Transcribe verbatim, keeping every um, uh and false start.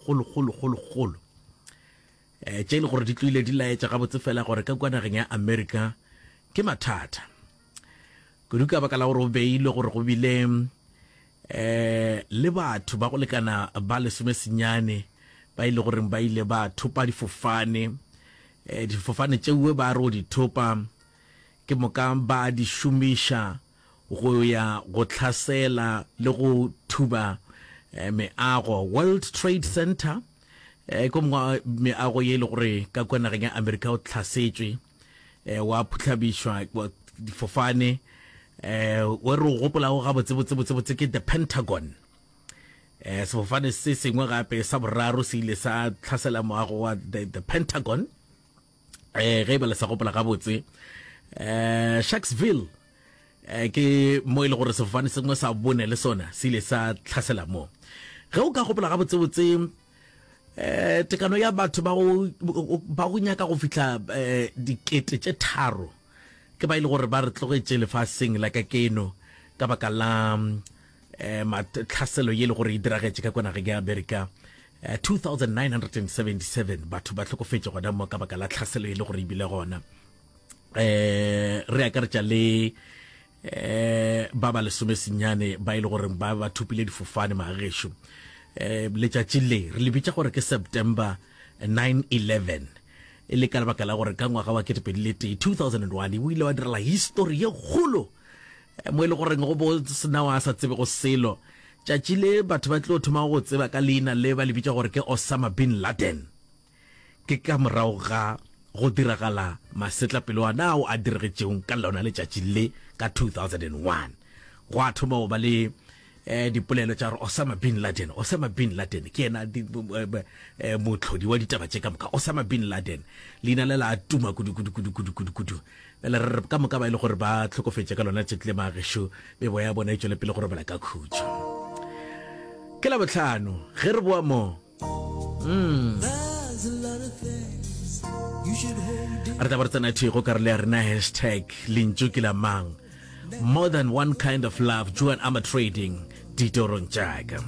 kgolo kgolo kgolo kgolo um tše e le gore di tloile di laetša gabotse fela gore ka kua nageng ya Amerika ke mathata kudu, ka baka la gore o beilwe gore go bile um le batho ba go lekana ba lesomesenyane ba ile goreng ba ile ba thopa difofane. um difofane tšeue ba re o di thopa ke moka ba di šomiša go ya go tlhasela le go thuba eh, meago World Trade Center, eh, ko mongwe meago ye e le gore ka kua nageng ya Amerika o tlhasetšwe, eh, wa phutlhabišwa difofane. eh we re o gopolago gabotse botse botse botse ke the Pentagon. eh sefofane se sengwe gape sa boraro se ile sa tlhasela moago wa the, the Pentagon, eh ge e ba le sa gopola gabotse. eh Sharksville eh ke mo e le gore sefofane sengwe sa bone le sona se ile sa tlhasela mo. Ge o ka gopola gabotsebotse, eh tekano ya batho ba go ba go nyaka go fihla eh dikete tše tharo ke ba ile gore ba re tlogetše lefaseng la ka keno ka baka la eh tlhaselo ye le gore e diragetše ka kwa nageng ya Amerika. eh, two thousand nine hundred seventy-seven batho ba hlokofetše gona mo ka baka la tlhaselo ye le gore e bile gona, eh re akaretša le eh ba ba lesome senyane ba ile gore ba ba thopile difofane. Magešo, eh letšatši le re le bitša gore ke September nine eleven, e le ka lebaka la gore ka ngwaga wa ketepedi le tee, two thousand and one, o ile wa direla history ye kgolo, eh, mo e le goreng go bo sena wa sa tsebe go selo. Tšatši le batho ba tlo thoma go tseba ka leina le ba le bitša gore ke Osama bin Laden ke ka morago ga go diragala masetlapelo ana ao a diregetšeng ka lona letšatši le ka two thousand and one. Go a thoma go ba le eh dipolelo tša gore Osama bin Laden, Osama bin Laden ke yena eh, motlhodi wa ditaba tše ka moka. Osama bin Laden, leina le la tuma kudu kudu kudu kudu kudu kudu. Bjale re re ka moka ba ile gore ba hlokofetše ka lona tšatši le, magešo, meboya ya bona e tšwele pele go robala ka khutšo. Ke la botlhano ge re boa mo mm. re tla ba re tsena thwi go karolo ya rena hashtag lentšu ke la mang, more than one kind of love, Joan Armatrading, ditorong tšaka.